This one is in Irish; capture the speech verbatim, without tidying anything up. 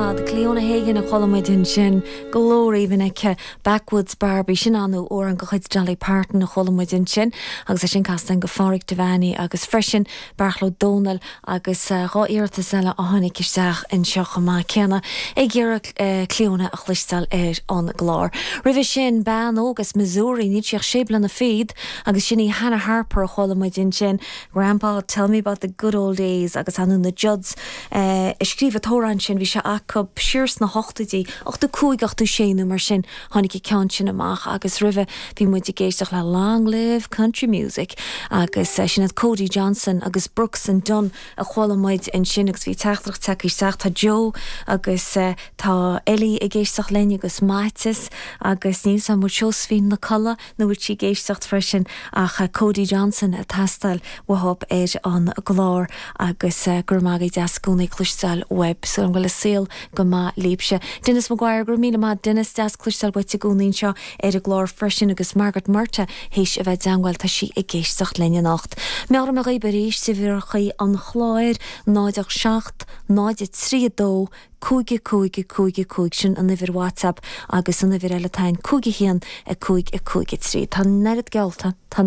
fad Clíona Hagan a chuala muid ansin glór aoibhinn aici Backwoods Barbie sin anu amhrán de chuid Dolly Parton a chuala muid ansin agus é sin casta go Phádraig Devaney agus freisin Beartla Ó Domhnaill agus uh, dhá iarratas eile a tháinig isteach anseo chomh maith céanna ag iarraidh uh, Clíona a chloisteáil ar an gclár. Roimhe sin bean óg as Missouri níl sí ach sé bliana fichead agus sin í Hannah Harper a chuala muid ansin Grandpa tell me about the good old days agus anu na Judds uh, a scríobh an t-amhrán sin bhí sé acu siar sna hochtóidí ochtó cúig ochtó sé nó mar sin tháinig an ceann sin amach agus roimhe bhí muid ag éisteacht le Long Live Country Music agus uh, sin Cody Johnson agus Brooks and Dunn a chuala muid ansin agus bhí teachtaireacht tagtha isteach tá Joe agus uh, tá Ellie ag éisteacht linn agus Matis agus níl sam Seosfín na colla nó sí ag éisteacht freisin ach uh, Cody Johnson ag teastáil uathub ar an gclár agus uh, gur maith deas i gcónaí cloisteáil uaibh so an bhfuil saol go maith libhse. Dennis Maguire gur míle maith Dennis deas cloisteáil uait i gcónaí seo ar an gclár freisin agus Margaret Murta théis a bheith deanhfuil tá sí ag éisteacht linn anocht. Meabhraím daoibh arís uimhir an chláir náid a seacht, náid trí dó, cúig cúig cúig cúig sin an uimhir WhatsApp agus an uimhir eile tain cúig haon a cúig a cúig trí. Tá nead gealta tá